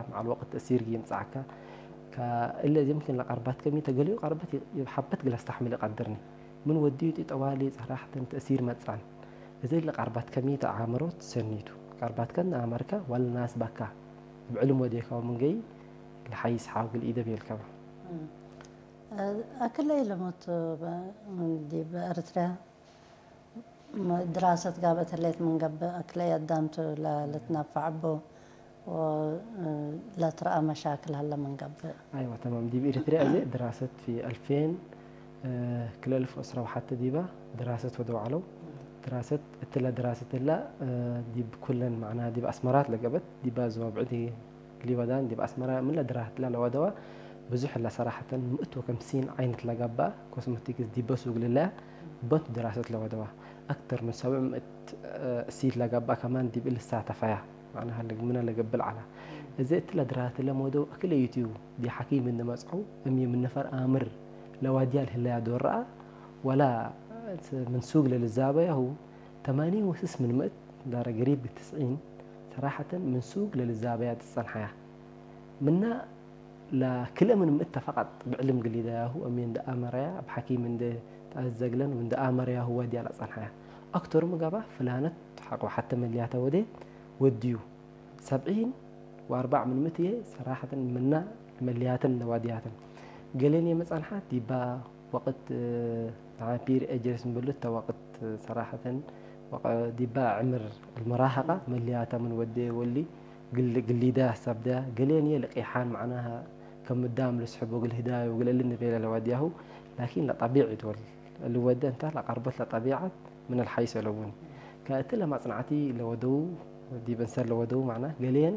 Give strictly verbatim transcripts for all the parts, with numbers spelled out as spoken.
መዓል ወቅት ተእሲር ይምጽአካ። ከእለ እዚ ምክን ለቀርባትከ ሚ ተ ገሌው ቀርበት ሐበት እግል አስተሕምል ኢቀድርኒ። ምን ወድዩ ጢ ጠዋሊ ሰራሐተን ተእሲር መጽአን። እዚ ለቀርባትከ ሚ ተ አምሮት ሰኒቱ። ቀርባትከን አመርከ ወለ ናስ በካ። እብ ዕልም ወዴካው ምን ገይ ለሐይስ ሓው እግል ኢደ ቤልከ በ። እም። አክለ ኢለሙት በ-፣ ዲብ ኤረትርያ ድራሰት ጋብአት ህሌት ምን ገብእ፣ አክለ አዳምቱ ለ-፣ ልትነፈዕ እቡ ወለትረአ መሻክል ሀለ ምን ገብእ። አይወ፣ ተማም። ዲብ ኤሪትርያ አዜ ድራሰት ፊ አልፌን ክልኤ አልፍ ወዕስራ ወሐተ ዲባ ድራሰት ወደው ዐለው። ድራሰት፣ እትለ ድራሰት እላ ዲብ ኩለን፣ መዕናሃ ዲብ አስመራት ለገብአት፣ ዲባ ዞብዕድ ሊወዳን ዲብ አስመረ ምን ለድራህት ለለወደወ ብዙሕ እለ ሰራሐተን ምእት ወከምሲን ዓይነት ለገብአ ኮስሞቲክስ ዲበ ሱግ ልለያ በቱ ድራሰት ለወደወ። አክተር ምን ሰብዕ ምእት እሲት ለገብአ ከማን ዲብ እሊ ሳተፈያ፣ መዕናሃ ልግምነ ለገብእ ዐለ። እዘ እትለ ድራህት ለመወደው አክለ ዩትዩ ዲብ ሐኪም እንዴ መጽአው እም ምን ነፈር አምር ለዋድያ ለህለያ ዶር ረአ ወላ ምን ሱግ ለልዛበያሁ ተማኒን ወስስ ምን ምእት ዳረ ገሪብ ትስዒን ሰራሐተን ምን ሱግ ለልዛበያ ትጸንሐያ። ምና ለክልኤ ምን ምእት ተ ፈቀጥ ብዕልም ግሊዳያሁ እሜ እንደ አመረያ እብ ሐኪም እንደ ተአዘግለን ወእንደ አመረያሁ ወድያ ለጸንሐያ። አክተሩ ምጋባ ፍላነት ሐቆ ሐተ መልያተ ወዴት ወድዩ። ሰብዒን ወአርበዕ ምን ምእት ህዬ ሰራሐተን ምና መልያተን ለዋድያተን። ገሌን የመ ጸንሐት ዲባ ወቅት፣ እ፣ ተዓፒር ኤጀርስ እንበሉት ተ ወቅት ሰራሐተን ወቀ-፣ ዲባ ዕምር አልመራሀቃ መልያተ ምን ወዴ ወሊ ግል-፣ ግሊዳ ሰብዳ ገሌን የልቂሓን መዕናሃ ከም ምዳም ልስሕቦ እግል ህዳዩ እግል እሊ ንቤለ ለወድያሁ። ላኪን ለጠቢዕ ዶል እሊ ወደ እንተ ለቀርበት ለጠቢዓት ምን አልሐይስ አለቡኒ። ከእትለ ማጽናዕቲ ለወደው ዲብ እንሰር ለወደው መዕና ገሌን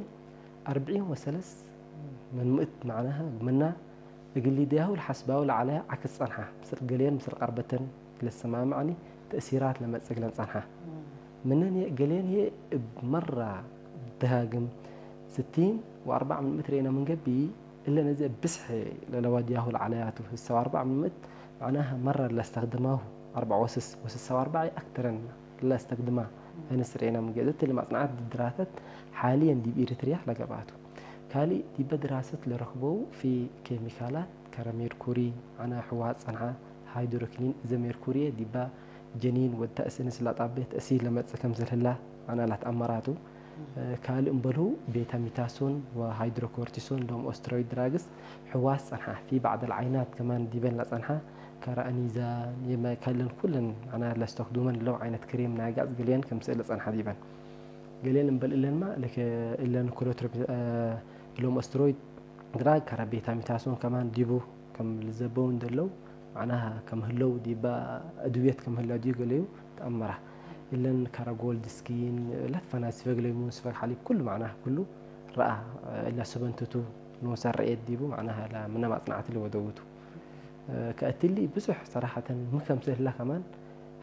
አርብዒን ወሰለስ ምን ምእት መዕናሃ ምና እግል ሊደያሁ ለሐስባሁ ለዐለ ዐክስ ጸንሐ። ምስል ገሌን ምስል ቀርበተን ለሰማምዐኒ ተእሲራት ለመጽእ እግለን ጸንሐ። ምነን ገሌን ህዬ እብ መራ ደሃግም ስቲን ወአርበዕ ምን ምእት ርኤነ ምን ገብእ፣ እለን እዚ እብ ብዝሕ ለለዋድያሁ ለዐለያቱ። ስሳ ወአርበዕ ምን ምእት መዕናሃ መራ ለአስተክድማሁ አርበዕ ወስስ ወስሳ ወአርበዕ አክተረን ለአስተክድማ አይነት ስርኤና ምገዘት ለማጽናዓት ድራተት ሓልየን ዲብ ኤሪትርያ ለገብአቱ። ካልእ ዲበ ድራሰት ለረክበው ፊ ኬሚካላት ከረ ሜርኩሪ፣ አነ ሕዋት ጸንሐ፣ ሃይድሮኪኒን፣ እዘ ሜርኩሪየ ዲባ ጀኒን ወድ ተእስንስ ለጣቤ ተእሲር ለመጽእ ከምስል ህላ አነ ለትአመራቱ። ካልእ እምበልሁ ቤታሚታሶን ወሃይድሮኮርቲሶን ሎም ኦስትሮይድ ድራግስ ሕዋስ ጸንሐ። ፊ ባዕድ አልዓይናት ከማን ዲበን ለጸንሐ ከረ አኒዛ የመ ከለን ኩለን አነ ለስተክዱመን ለው ዓይነት ክሬም ናይ ጋጽ ገሌን ክምሰል ለጸንሐ ዲበን። ገሌን እምበል እለንማ ለከ እለን ክሎትሮፕ-፣ አ፣ ሎም ኦስትሮይድ ድራግ ከረ ቤታሚታሶን ከማን ዲቡ ከም ልዘበው እንደለው፣ መዕናሃ ከም ህለው ዲባ አድውየት ከም ህለው ዲዩ ገለዩ ተአመራ። እለን ከረ ጎልድ ስኪን፣ ለትፈናት ስፈግ ለይሙን፣ ስፈግ ሐሊብ፣ ኩሉ መዕናሃ ኩሉ ረአ። እለ ሰበንትቱ ኖሰ ረኤት ዲቡ መዕናሃ ለምነ ማጽናዕት ለወደውቱ። ከእትሊ ብዙሕ ሰራሐተን ምን ከምስል ህላ ከማን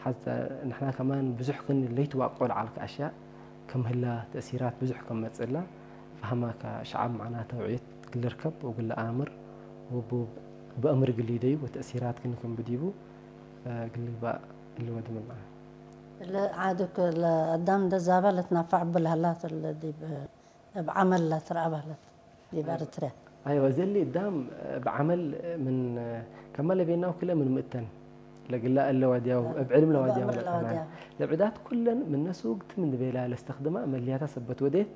ሐዘ ንሕና ከማን ብዙሕ ክን ለይትዋቆ ለዐልከ አሽያእ ከም ህላ ተእሲራት ብዙሕ ከም መጽእላ ፈሀማከ ሸዓብ መዕና ተውዕየት እግል ልርከብ ወእግል ለአምር ወቡ-፣ በእምር እግል ሊደዩ ወተእሲራት ክን ከም ብዲቡ እግል ልግባእ እሊ ወድምና። ለዓዱክ ለአዳም እንደ ዛበ ለትናፋዕ እቡ ለሀላት እለ ዲብ እብ ዐመል ለትረአ በህለት ዲብ ኤረትርያ። አይወ፣ እዘሊ እዳም እብ ዐመል ምን ከመ ለቤናው ክለ ምን ምእተን ለግላ እለ ዋድያው፣ እብ ዕልም ለዋድያው፣ ለዕዳት ኩለን ምነ ሱግት ምን ቤላ ለስተክድማ መልያታ ሰበት ወዴት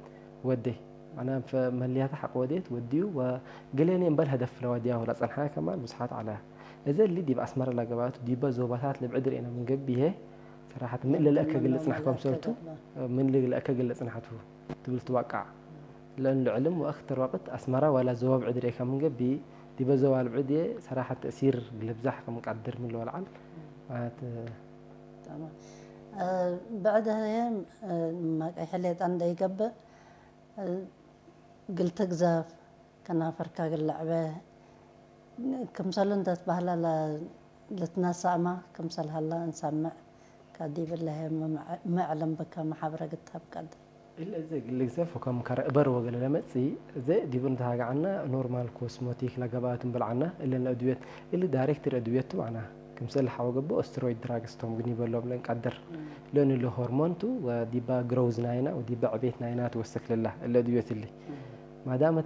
ወዴ። አነ መልያታ ሐቅ ወዴት ወድዩ ወግሌኔ እምበል ሀደፍ ለዋድያው ለጸንሐ ከማን ብዙሓት ዐለ። እዘሊ ዲብ አስመረ ለገባቱ ዲበ ዞባታት ለብዕድ ርኤነ ምን ገብእ ይሄ ሰራሐት ምን ለልአከ ግልጽ ናሕኮም ሰልቱ፣ ምን ለልአከ ግልጽ ናሕቱ ትብል ትዋቃዕ። ለእንሉ ዕልም ወአክተር ወቅት አስመረ ወላ ዞባ ብዕድ ርኤካ ምን ገብእ፣ ዲበ ዞባ ልብዕድ ሰራሐት ተእሲር ልብዛሕ ከም ቀድር ምን ለወልዓል ማለት። ተማም። እ፣ ብዕድ ህዬ፣ እ፣ መቀይ ሕሌጣ እንደ ይገብእ፣ እ፣ ግል ትግዘፍ፣ ከናፈርካ እግል ለዕበ፣ ክምሰሉ እንተ ትበህለ ለ-፣ ልትነሳእመ ክምሰል ሀለ እንሰምዕ። ከዲብ እለ ህዬ ሚ-፣ ሚ ዕልም ብከ መሓብረ ግታብ ቀድር። እለ እዘ እግል ልግዘፍ ወከም ከረ እበር ወገለ ለመጽእ፣ እዘ ዲቡ እንተሃገ ዐና ኖርማል ኮስሞቲክ ለገብአት እንብል ዐና፣ እለን ለአድውየት፣ እሊ ዳይሬክት ለአድውየት ቱ ዐና። ክምሰል ሐወ ገብእ ኦስትሮይድ ድራግስ ቶም ግን ይበሎም ለእንቀድር። እም። ለእንሉ ሆርሞን ቱ ወዲባ ግሮውዝ ናይና ወዲባ ዕቤት ናይና ትወሰክ ለላ እለ አድውየት እሊ። እም። ማዳመ